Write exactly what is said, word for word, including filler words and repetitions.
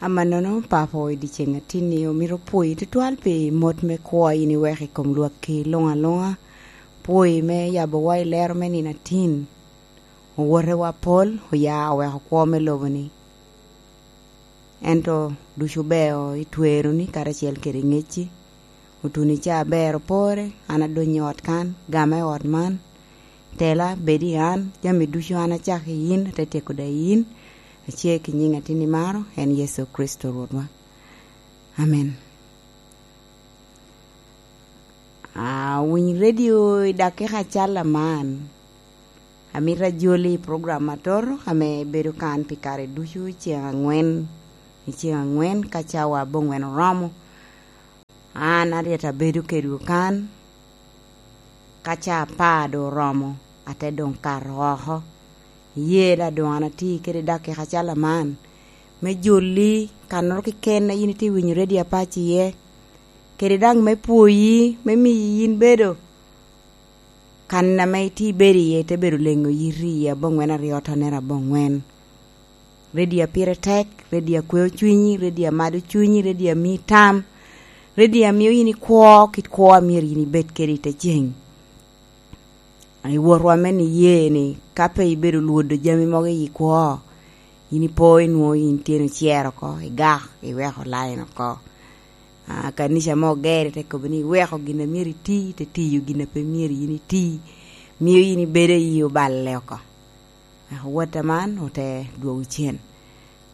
Amannono, Papo, i dyeceŋ atinni omito pwoyi tutwal pi mot me kwo a yin iweko i kom lwakki luŋ aluŋa, pwoyi me yabowa i lero me nino atin. Owotewa pol oya oweko kwo me lobo-ni. Ento ducu beo i tweroni karacel kede ŋecci. Otuno i caa aber opore, an adonyo i ot kan, gama i ot man. Tela, bed i an, jami ducu an acako i yin, ate tyeko daŋ i yin. Acer ki nyiŋ atin imaro, en Yecu Kricito Rwotwa. Amen. Awiny redio i dakika acal aman. Amito ajoli i program atoto ame bedo kan pi kare ducu i ceŋ aŋwen, i ceŋ aŋwen ka cawa aboŋwen oromo. An aryet abedo kedwu kan, ka ca apar doŋ oromo, ate doŋ kato oko. Iye daŋ doŋ an atye kede dakika acal aman me joli kannoro keken a yin itye winyo redio apac iye, kede daŋ me pwoyi, me miyi yin bedo kan ame itye ibedo iye, te bedo leŋo yiti i aboŋwen aryo tonere aboŋwen. Redio a pire tek, redio a kweo cwinyi, redio a mado cwinyi, redio a mii tam, redio a mio yin ikwo kit kwo a myero yin ibed kede i te ceŋ. I wotwa me niye ni, ka pe ibedo lwodo jami mogo i kwo, yin ipo inwoŋo yin tyeni ocer oko, igak, iweko lain oko. Ah, kanica mo ogere te kobo ni iweko gin a myero iti, te tiyo gin a pe myero yin iti, mio yin ibedo iyi oballe oko. Eka wot aman ote dwogo cen.